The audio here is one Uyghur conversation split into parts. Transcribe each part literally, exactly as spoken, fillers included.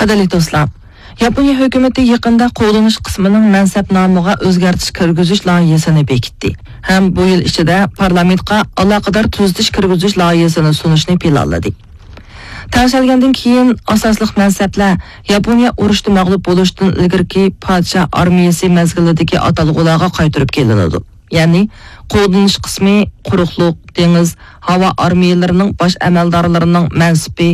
قەدىرلىك دوستلار، ياپونىيە ھۆكۈمىتى يېقىندا قوغدىنىش قىسمىنىڭ مەنسەپنامىغا ئۆزگەرتىش كىرگۈزۈش لايىھەسىنى بېكىتتى ھەم بۇ يىل ئىچىدە پارلامېنتقا ئالاقىدار تۈزىتىش كىرگۈزۈش لايىھەسىنى سۇنۇشنى پىلانلىدى. تەڭشەلگەندىن كېيىن، ئاساسلىق مەنسەپلەر ياپونىيە ئۇرۇشتا مەغلۇپ بولۇشتىن ئىلگىرىكى پادىشاھ ئارمىيەسى مەزگىلىدىكى ئاتالغۇلارغا قايتۇرۇپ كېلىنىدۇ. يەنى، قوغدىنىش قىسمى قۇرۇقلۇق، دېڭىز، ھاۋا ئارمىيەلىرىنىڭ باش ئەمەلدارلىرىنىڭ مەنسىپى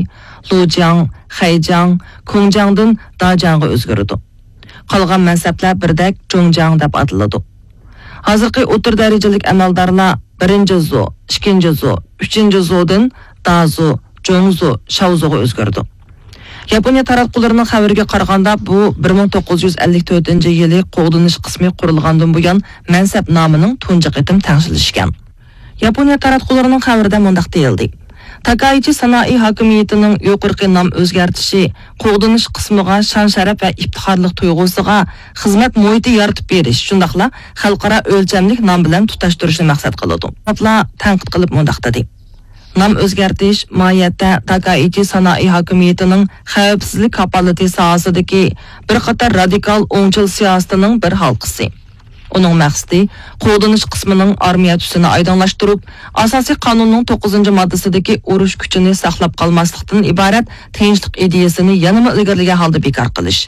لۇجياڭ، خەيجاڭ، كۇڭجاڭدىن داجاڭغا ئۆزگىرىدۇ. قالغان مەنسەپلەر بىردەك جۇڭجاڭ دەپ ئاتىلىدۇ. ھازىرقى ئوتتۇرا دەرىجىلىك ئەمەلدارلار بىرىنچى زۇ، ئىككىنچى زۇ، ئۈچىنچى زۇدىن دازۇ، جۇڭزۇ، شاۋزۇغا ئۆزگىرىدۇ. ياپونىيە تاراتقۇلىرىنىڭ خەۋىرىگە قارىغاندا، بۇ بىر مىڭ توققۇز يۈز ئەللىك تۆتىنچى يىلى قوغدىنىش قىسمى قۇرۇلغاندىن بۇيان مەنسەپنامىنىڭ تۇنجى قېتىم تەڭشىلىشى ئىكەن. ياپونىيە تاراتقۇلىرىنىڭ خەۋىرىدە مۇنداق دېيىلدى: تاكائىچى سانائى ھاكىمىيىتىنىڭ يۇقىرىقى نام ئۆزگەرتىشى قوغدىنىش قىسمىغا شان-شەرەپ ۋە ئىپتىخارلىق تۇيغۇسىغا خىزمەت مۇھىتى يارىتىپ بېرىش، شۇنداقلا خەلقئارا ئۆلچەملىك نام بىلەن تۇتاشتۇرۇشنى مەقسەت قىلىدۇ. تەنقىد قىلىپ مۇنداق دېدى: نام ئۆزگەرتىش ماھىيەتتە تاكائىچى سانائى ھاكىمىيىتىنىڭ خەۋپسىزلىك كاپالىتى ساھەسىدىكى بىر قاتار رادىكال ئوڭچىل سىياسىتىنىڭ بىر ھالقىسى. ئۇنىڭ مەقسىتى قوغدىنىش قىسمىنىڭ ئارمىيە تۈسىنى ئايدىڭلاشتۇرۇپ، ئاساسىي قانۇننىڭ توققۇزىنچى ماددىسىدىكى ئۇرۇش كۈچىنى ساقلاپ قالماسلىقتىن ئىبارەت تىنچلىق ئىدىيەسىنى يەنىمۇ ئىلگىرىلىگەن ھالدا بىكار قىلىش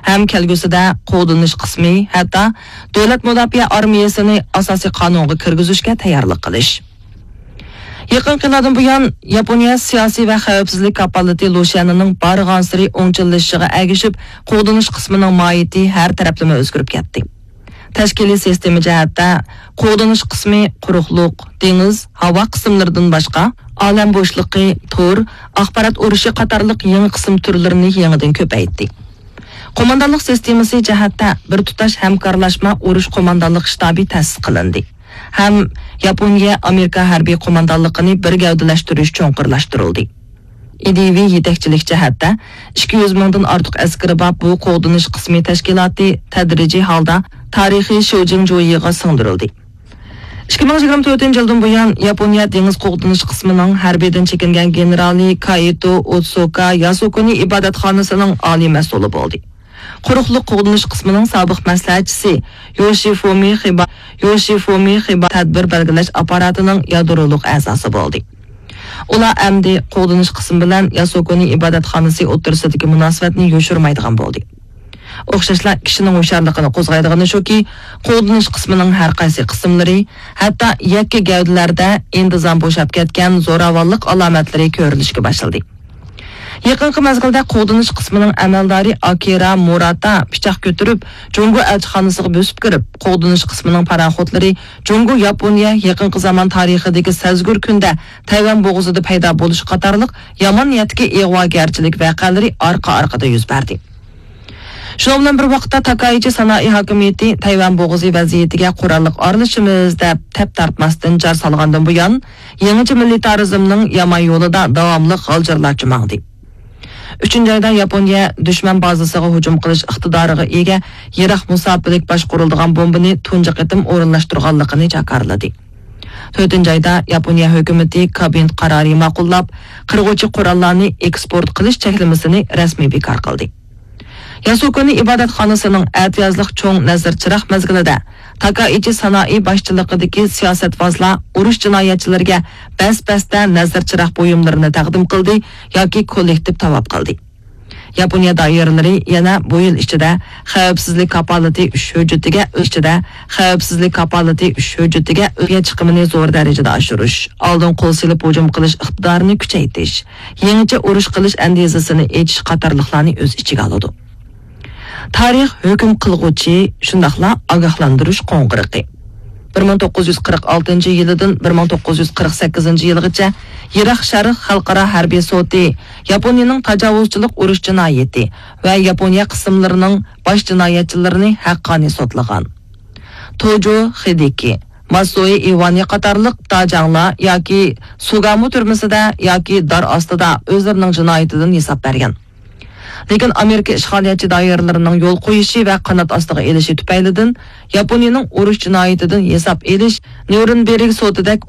ھەم كەلگۈسىدە قوغدىنىش قىسمى، ھەتتا دۆلەت مۇداپىئە ئارمىيەسىنى ئاساسىي قانۇنغا كىرگۈزۈشكە تەييارلىق قىلىش. يېقىنقى يىللاردىن بۇيان، ياپونىيە سىياسىي ۋە خەۋپسىزلىك كاپالىتى لۇشيەنىنىڭ بارغانسېرى ئوڭچىللىشىشىغا ئەگىشىپ، قوغدىنىش قىسمىنىڭ ماھىيىتى ھەر تەرەپلىمە ئۆزگىرىپ كەتتى. تەشكىلىي سىستېما جەھەتتە، قوغدىنىش قىسمى قۇرۇقلۇق، دېڭىز، ھاۋا قىسىملىرىدىن باشقا، ئالەم بوشلۇقى، تور، ئاخبارات ئۇرۇشى قاتارلىق يېڭى قىسىم تۈرلىرىنى يېڭىدىن كۆپەيتتى. قوماندانلىق سىستېمىسى جەھەتتە، بىر تۇتاش ھەمكارلاشما ئۇرۇش قوماندانلىق شتابى تەسىس قىلىندى ھەم ياپونىيە ئامېرىكا ھەربىي قوماندانلىقىنى بىر گەۋدىلەشتۈرۈش چوڭقۇرلاشتۇرۇلدى. ئىدىيىۋى يېتەكچىلىك جەھەتتە، ئىككى يۈز مىڭدىن ئارتۇق ئەسكىرى بار بۇ قوغدىنىش قىسمى تەشكىلاتى تەدرىجىي ھالدا تارىخىي شۇجىڭجۇيىغا سىڭدۈرۈلدى. ئىككى مىڭ يىگىرمە تۆتىنچى يىلدىن بۇيان، ياپونىيە دېڭىز قوغدىنىش قىسمىنىڭ ھەربىيدىن چېكىنگەن گېنېرالى كائىتو ئوتسۇكا ياسۇكۇنى ئىبادەتخانىسىنىڭ ئالىي مەسئۇلى بولدى. قۇرۇقلۇق قوغدىنىش قىسمىنىڭ سابىق مەسلىھەتچىسى يوشىفۇمى خىبا، يوشىفۇمى خىبا تەدبىر بەلگىلەش ئاپپاراتىنىڭ يادرولۇق ئەزاسى بولدى. ئۇلار ئەمدى قوغدىنىش قىسمى بىلەن ياسۇكۇنى ئىبادەتخانىسى ئوتتۇرىسىدىكى مۇناسىۋەتنى يوشۇرمايدىغان بولدى. ئوخشاشلا، كىشىنىڭ ھوشيارلىقىنى قوزغايدىغىنى شۇكى، قوغدىنىش قىسمىنىڭ ھەر قايسى قىسىملىرى، ھەتتا يەككە گەۋدىلەردە ئىنتىزام بوشاپ كەتكەن زوراۋانلىق ئالامەتلىرى كۆرۈلۈشكە باشلىدى. يېقىنقى مەزگىلدە قوغدىنىش قىسمىنىڭ ئەمەلدارى ئاكىرا مۇراتا پىچاق كۆتۈرۈپ، جۇڭگو ئەلچىخانىسىغا بۆسۈپ كىرىپ، قوغدىنىش قىسمىنىڭ پاراخوتلىرى جۇڭگو ياپونىيە يېقىنقى زامان تارىخىدىكى سەزگۈر كۈندە تەيۋەن بوغۇزىدا پەيدا بولۇشى قاتارلىق يامان نىيەتتىكى ئىغۋاگەرچىلىك ۋەقەلىرى ئارقا-ئارقىدا يۈز بەردى. شۇنىڭ بىلەن بىر ۋاقىتتا، تاكائىچى سانائى ھاكىمىيىتى تەيۋەن بوغۇزى ۋەزىيىتىگە قوراللىق ئارىلىشىمىز دەپ تەپ تارتماستىن جار سالغاندىن بۇيان، يېڭىچە مىلىتارىزمنىڭ يامان يولىدا داۋاملىق غالجىرلارچە ماڭدى. ئۈچىنچى ئايدا ياپونىيە دۈشمەن بازىسىغا ھۇجۇم قىلىش ئىقتىدارىغا ئىگە يىراق مۇساپىلىك باشقۇرۇلىدىغان بومبىنى تۇنجى قېتىم ئورۇنلاشتۇرغانلىقىنى جاكارلىدى. تۆتىنچى ئايدا ياپونىيە ھۆكۈمىتى كابىنېت قارارى ماقۇللاپ، قىرغۇچى قوراللارنى ئېكسپورت قىلىش چەكلىمىسىنى رەسمىي بىكار قىلدى. ياسۇكۇنى ئىبادەتخانىسىنىڭ ئەتىيازلىق چوڭ نەزىر چىراغ مەزگىلىدە تاكائىچى سانائى باشچىلىقىدىكى سىياسەتۋازلار ئۇرۇش جىنايەتچىلىرىگە بەس-بەستە نەزىر چىراغ بۇيۇملىرىنى تەقدىم قىلدى ياكى كوللېكتىپ تاۋاپ قىلدى. ياپونىيە دائىرىلىرى يەنە بۇ يىل ئىچىدە خەۋپسىزلىك كاپالىتى ئۈچ ھۆججىتىگە ئىچىدە خەۋپسىزلىك كاپالىتى ئۈچ ھۆججىتىگە ئۆيە چىقىمىنى زور دەرىجىدە ئاشۇرۇش، ئالدىن قول سېلىپ ھۇجۇم قىلىش ئىقتىدارىنى كۈچەيتىش، يېڭىچە ئۇرۇش قىلىش ئەندىزىسىنى ئېچىش قاتارلىقلارنى ئۆز ئىچىگە ئالىدۇ. تارىخ ھۆكۈم قىلغۇچى، شۇنداقلا ئاگاھلاندۇرۇش قوڭغۇرىقى. بىر مىڭ توققۇز يۈز قىرىق ئالتىنچى يىلىدىن بىر مىڭ توققۇز يۈز قىرىق سەككىزىنچى يىلغىچە يىراق شەرق خەلقئارا ھەربىي سوتى ياپونىيىنىڭ تاجاۋۇزچىلىق ئۇرۇش جىنايىتى ۋە ياپونىيە قىسىملىرىنىڭ باش جىنايەتچىلىرىنى ھەققانىي سوتلىغان. توجو خىدىكى، ماسۇئى ئىۋانى قاتارلىق داجاڭلار ياكى سۇگامۇ تۈرمىسىدە ياكى دار ئاستىدا ئۆزلىرىنىڭ جىنايىتىدىن ھېساب بەرگەن. لېكىن ئامېرىكا ئىشغالىيەتچى دائىرىلىرىنىڭ يول قويۇشى ۋە قانات ئاستىغا ئېلىشى تۈپەيلىدىن، ياپونىيىنىڭ ئۇرۇش جىنايىتىدىن ھېساب ئېلىش نيۇرنبېرگ سوتىدەك